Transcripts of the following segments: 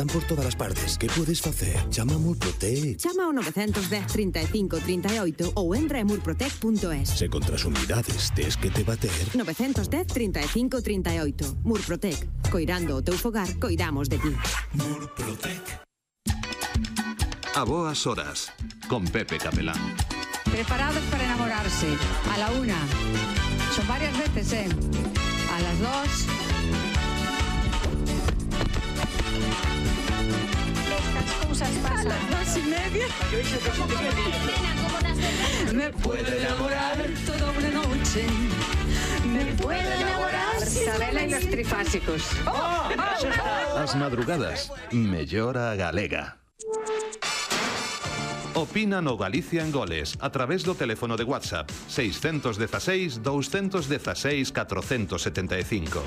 están por todas as partes. Que podes facer? Chama a Murprotec. Chama ao 910 35 38 ou entra en murprotec.es. Se contra as humidades tes que te bater. 910 35 38. Murprotec. Coirando o teu fogar, coidamos de ti. Murprotec. A boas horas, con Pepe Capelán. Preparados para enamorarse. A la 1. Son varias veces, ¿eh? A las 2. Estas cosas pasan. A las 2:30. Me puedo enamorar toda una noche. Me puedo enamorar. Sabela y los trifásicos. As madrugadas, mellora galega. Opina no Galicia en Goles a través do teléfono de WhatsApp 616 216 475.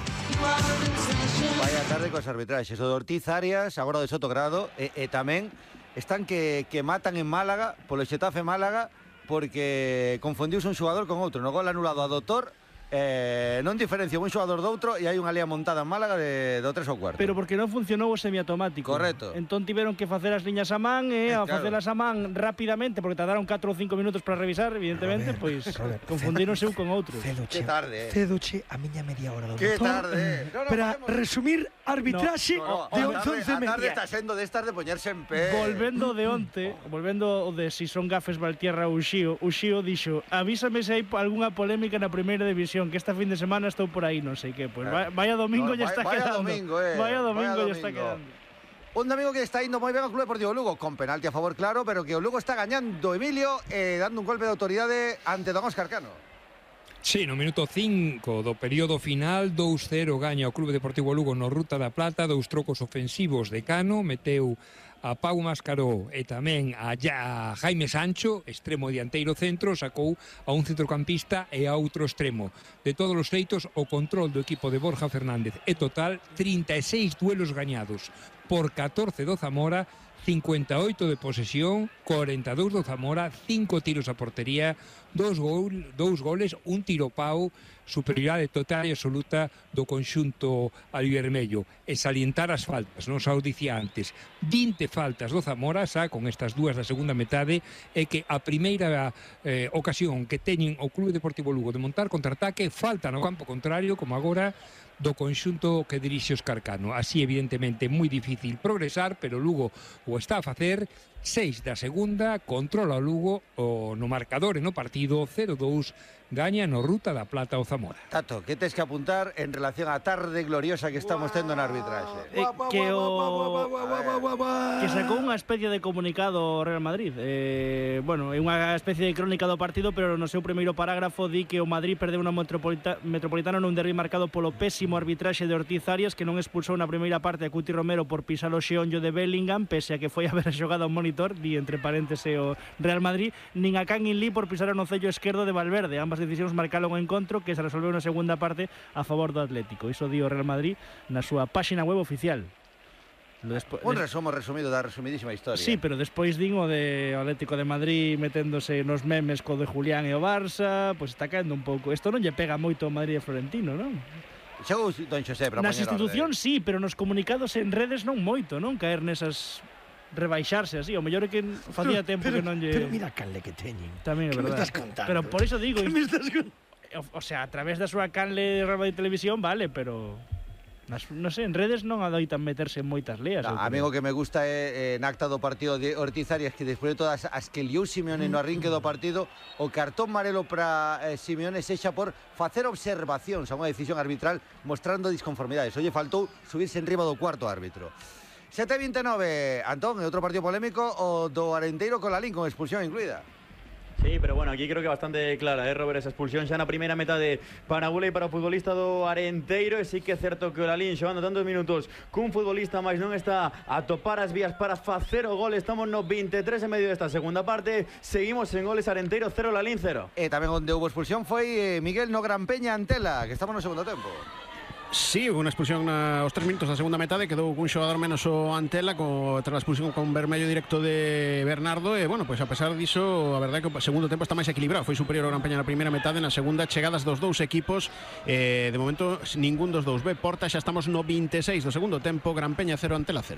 Vaya tarde cos arbitraxes. O de Ortiz Arias, agora de Sotogrado, e tamén están que matan en Málaga, polo Xetafe Málaga, porque confundiuse un xogador con outro. No gol anulado a Doutor, non diferencia un xogador do outro e hai unha lea montada en Málaga do 3 ao 4. Pero porque non funcionou o semiautomático. Correcto. Entón tiveron que facer as liñas a man a claro. facelas a man rapidamente, porque tardaron 4 ou 5 minutos para revisar, evidentemente, pois confundíronse un con outro. Que tarde, Cedoche a miña media hora do Que motor. tarde. Para resumir arbitraxe de 11:30. A tarde está sendo destas de poñerse en pé. Volvendo de onte, volvendo de si son gafes Valtierra ou Uxío dixo: avísame se hai algunha polémica na primeira división, que esta fin de semana estou por aí, non sei que. Pois vaya domingo ya está quedando. Vaya domingo ya está quedando. Un domingo que está indo moi ben ao Club Deportivo Lugo, con penalti a favor, claro, pero que o Lugo está gañando Emilio, dando un golpe de autoridade ante don Óscar Cano. Sí, no minuto 5 do período final, 2-0 gaña o Club Deportivo Lugo no Ruta da Plata, 2 trocos ofensivos de Cano, meteu a Pau Mascaró e tamén a Jaime Sancho, extremo dianteiro centro, sacou a un centrocampista e a outro extremo. De todos os feitos, o control do equipo de Borja Fernández é total 36 duelos gañados por 14 do Zamora, 58 de posesión, 42 do Zamora, 5 tiros a portería, 2 goles, un tiro pau, superioridade total e absoluta do conxunto albivermello. E salientar as faltas, non xa o dicía antes, 20 faltas do Zamora, xa con estas dúas da segunda metade, e que a primeira ocasión que teñen o Clube Deportivo Lugo de montar contraataque, falta no campo contrario, como agora, do conxunto que dirixe Óscar Cano. Así, evidentemente, moi difícil progresar, pero Lugo o está a facer. 6 da segunda, controla o Lugo no marcador e no partido, 0-2, gaña no Ruta da Plata o Zamora. Tato, que tes que apuntar en relación á tarde gloriosa que estamos tendo na arbitraxe? Que sacou unha especie de comunicado o Real Madrid. Bueno, é unha especie de crónica do partido, pero no seu primeiro parágrafo di que o Madrid perdeu unha Metropolitano nun derbi marcado polo pésimo arbitraxe de Ortiz Arias, que non expulsou na primeira parte a Cuti Romero por pisar o xeonllo de Bellingham, pese a que foi a ver a xogada ao monitor, di entre parénteses o Real Madrid, nin a Can Lee por pisar o nocello esquerdo de Valverde. Ambas decisións marcaron o encontro, que se resolveu na segunda parte a favor do Atlético. Iso di o Real Madrid na súa páxina web oficial. Un resumo resumido da resumidísima historia. Sí, pero despois din o de Atlético de Madrid meténdose nos memes co de Julián e o Barça, pois está caendo un pouco. Isto non lle pega moito ao Madrid e Florentino, non? Chegou don Xosé para nas institucións sí, pero nos comunicados en redes non moito, non? Caer nesas rebaixarse así, o mellor é que facía tempo que non lle... Pero mira a canle que teñen. Tamén é verdade. Que me estás contando? Pero por iso digo... Que me estás contando? O sea, a través da súa canle de radio e televisión, vale, pero... non sei, en redes non adoitan meterse en moitas leas. Amigo, que me gusta é en acta do partido de Ortiz Arias, que despois de todas as que liou Simeone no arrinque do partido, o cartón amarelo para Simeone sexa por facer observacións a unha decisión arbitral mostrando disconformidades. Olle, faltou subirse en riba do cuarto árbitro. 7:29, Antón, e outro partido polémico, o do Arenteiro con Lalín, con expulsión incluída. Sí, pero bueno, aquí creo que bastante clara, Robert, esa expulsión xa na primeira metade para a bula e para o futbolista do Arenteiro. E sí que é certo que o Lalín, xogando tantos minutos cun futbolista máis, non está a topar as vías para facer o gol. Estamos no 23 e medio desta segunda parte. Seguimos en goles, Arenteiro 0, Lalín 0. E tamén onde houve expulsión foi Miguel no Gran Peña Antela, que estamos no segundo tempo. Sí, unha expulsión aos 3 minutos da segunda metade, quedou cun xogador menos o Antela tras a expulsión con vermello directo de Bernardo. E bueno, pois a pesar diso, a verdade é que o segundo tempo está máis equilibrado. Foi superior ao Gran Peña na primeira metade, na segunda chegadas dos dous equipos, de momento ningún dos dous ve porta. Xa estamos no 26 do segundo tempo, Gran Peña 0, Antela 0.